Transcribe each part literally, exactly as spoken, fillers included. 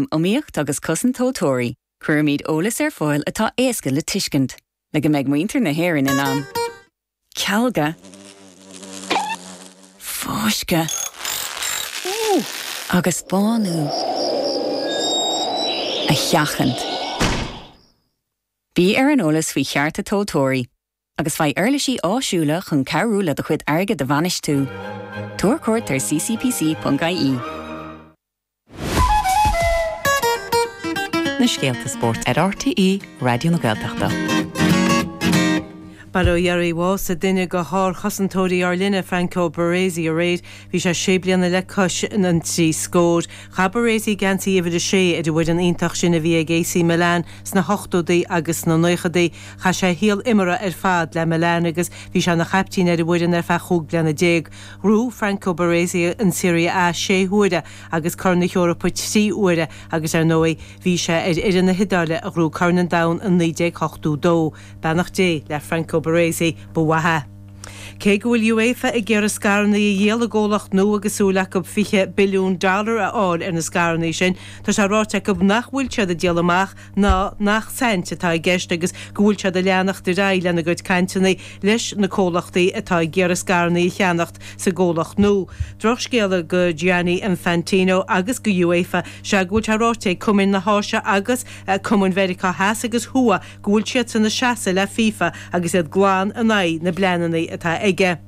Iomaíocht agus Cosaint Tomhaltóirí, cuirimid eolas ar fáil atá éasca le tuiscint, le go mbeidh muintir na hÉireann in ann. Cealga Fáisceadh agus bánú a sheachaint. Bí ar an eolas faoi chearta tomhaltóirí, agus faigh uirlisí áisiúla chun cabhrú le do chuid airgid a bhainistiú. Tabhair cuairt ar ccpc.ie. Na scéalta spóirt ar RTÉ Raidió na Gaeltachta. Bail ó Dhia ar a bhásaigh duine de shárchosantóirí ár linne, Franco Baresi, aréir. Bhí sé sé bliana le cois an trí scór. Chaith Baresi geansaí uimhir a sé ar an bhfoireann iontach sin a bhí ag AC Milan sna hochtóidí agus sna naochadaí. Chaith sé a shaol imeartha ar fad le Milan agus bhí sé ina chaiptín ar an bhfoireann ar feadh chúig bliana déag. Ghnóthaigh Franco Baresi an Serie A sé huaire agus Corn na hEorpa trí huaire agus ar ndóigh bhí sé ar fhoireann na hIodáile a ghnóthaigh Corn an Domhain in naoi déag ochtó dó. Beannacht Dé le Franco Baresi, ba mhaith é. Cé go bhfuil UEFA ag iarraidh scaireanna a dhíol i gcomhlacht nua agus súil acu fiche billiún dollar a fháil ar na scaireanna sin, tá sé ráite acu nach bhfuil siad ag díol amach ná nach saint atá i gceist agus go bhfuil siad ag leanacht ar aghaidh lena gcuid cainteanna leis na comhlachtaí atá ag iarraidh scaireanna a cheannacht sa gcomhlacht nua. Drochscéala go Gianni Infantino agus go UEFA is ea go bhfuil sé ráite ag cumainn na hÁise agus cumainn Mheiriceá Theas agus Thuaidh go bhfuil siadsan ag seasamh le FIFA agus iad glan in aghaidh na bpleananna atá aige.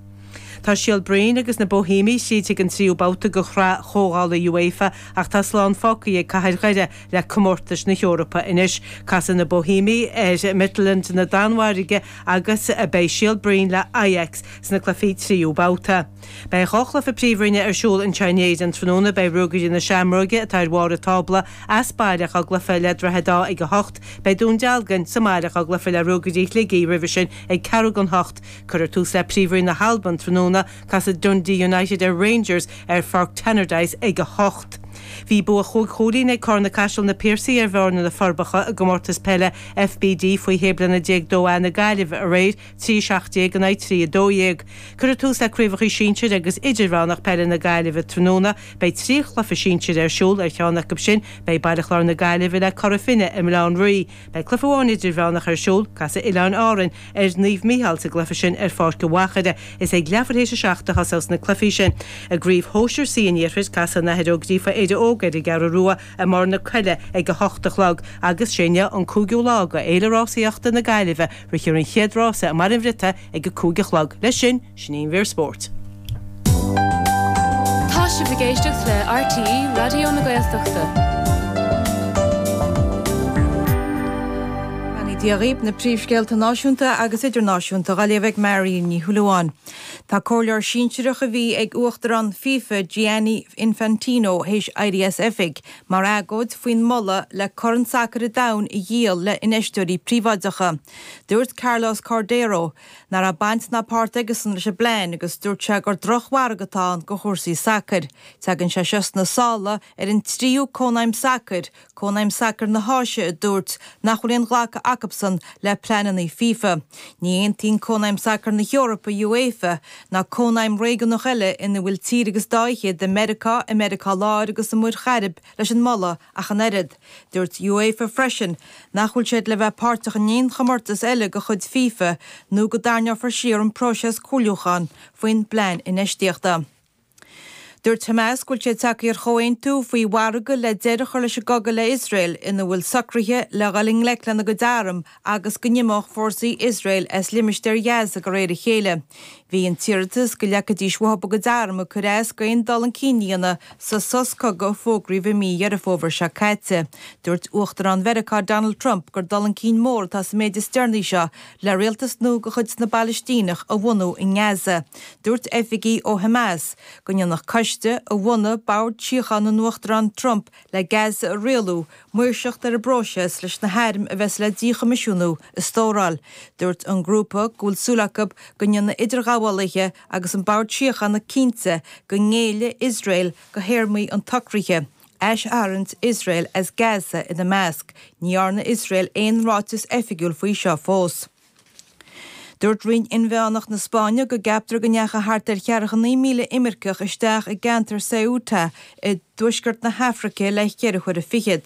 Tá Síol Bhroin agus na Boihéimigh tríd chuig an tríú babhta de Shraith Chomhdhála UEFA ach tá slán fágtha ag Cathair Dhoire le comórtais na hEorpa anois. Casfaidh na Boihéimigh ar Midtjylland na Danmhairge agus beidh Síol Bhroin le Ajax sna cluichí tríú babhta. Beidh dhá chluiche Príomhroinne ar siúl anseo in Éirinn tráthnóna. Beidh Ruagairí na Seamróige, atá ar bharr an tábla, as baile dhá gcluiche le Droichead Átha ag a hocht. Beidh Dún Dealgan sa mbaile dhá gcluiche le Ruagairí Shligigh roimhe sin ag ceathrú don hocht. Cuirfear tús le Príomhroinn na hAlban tráthnóna. Casfaidh Dundee United ar Rangers ar Pháirc Tannadice ag a hocht. Bhí bua chúig chúilín ag Carna Caiseal Na Piarsaigh ar Bhearna Na Forbacha i gcomórtas peile FBD faoi shé bliana déag dó A na Gaillimhe aréir, trí a seacht déag in aghaidh trí a dó dhéag. Cuirfear tús le Craobhacha Sinsir agus Idirmheánach Peile na Gaillimhe tráthnóna. Beidh trí chluiche sinsir ar siúl, ar cheann acu sin beidh Baile Chláir na Gaillimhe le Cora Finne i mBaile Átha an Rí. Beidh cluiche amháin idirmheánach ar siúl, casfaidh Oileáin Árann ar Naomh Mícheál sa gcluiche sin ar Pháirc an Mhachaire. Is ag leathuair théis a seacht a thosós na cluichí sin. I gCraobh Shóisir C an Iarthair, casfaidh an Athair Ó Gríofa Éire Óg ar an gCeathrú Rua i mBarr na Coille ag a hocht a chlog agus sé inniu an cúigiú lá de Fhéile Rásaíochta na Gaillimhe, rithfear an chéad rása i mBaile an Bhriotaigh ag a cúig a chlog. Leis sin, sin í an mhír spóirt. Tá sibh ag éisteacht le RTÉ Raidió na Gaeltachta. Beannacht Dé dhaoibh, na príomhscéalta náisiúnta agus idirnáisiúnta á léamh ag Marion Ní Shúilleabháin. Tá comhairleoir sinsearach a bhí ag Uachtarán FIFA Gianni Infantino théis éirí as oifig mar agóid faoin moladh le Corn Sacair an Domhain a dhíol le infheisteoirí príobháideacha. Dúirt Carlos Cordeiro nach raibh baint ná páirt aigesan leis an bplean agus dúirt sé gur drochmhargadh atá ann do chúrsaí sacair. Tagann sé seo sna sála ar an tríú cónaidhm sacair, Cónaidhm Sacair na hÁise a dúirt nach bhfuil aon ghlacadh acusan le pleananna FIFA. Ní aontaíonn Cónaidhm Sacair na hEorpa, UEFA, ná cónaidhm réigiúnach eile ina bhfuil tír agus dá fhichead i Meiriceá, i Meiriceá Láir agus i Muir Chairib leis an moladh ach an oiread. Dúirt UEFA freisin nach bhfuil siad le bheith páirteach in aon chomórtas eile de chuid FIFA nó go dtarraingeofar siar an próiseas comhairliúcháin faoin bplean infheistíochta. Dúirt Hamas go bhfuil siad tagtha ar chomhaontú faoi mhargadh le deireadh a chur leis an gcogadh le Iosrael ina bhfuil socruithe le dhul i ngleic lena gcuid arm agus go n-imeodh fórsaí Iosrael as limistéar Ghaza de réir a chéile. Bhí an t-iarratas go leagfaidís uathu a gcuid arm ag cur as d'aon dul chun cinn a dhéanamh sa sos cogaidh a fógraíodh i mí Dheireadh Fómhair seo caite. Dúirt Uachtarán Mheiriceá Donald Trump gur dul chun cinn mór atá sa méid is deireanaí seo le rialtas nua de chuid na bPalaistíneach a bhunú i nGaza. Dúirt oifigigh ó Hamas go ndéanfadh coiste a bhunaigh Bord Síochána an Uachtaráin Trump le Gaza a rialú, maoirseacht ar an bpróiseas leis na hairm a bheas le díchoimisiúnú a stóráil. Dúirt an grúpa go bhfuil súil acu go ndéanfaidh idirghabhálaithe agus an Bord Síochána cinnte go ngéillfidh Iosrael do théarmaí an tsocraithe, aistharraingt Iosrael as Gaza ina measc. Ní dhearna Iosrael aon ráiteas oifigiúil faoi seo fós. Dúirt Roinn Inmheánach na Spáinne go gceaptar go ndeachaigh thart ar cheathracha naoi míle imirceach isteach i gceantar Ceuta i dtuaisceart na hAfraice le ceithre huaire fichead.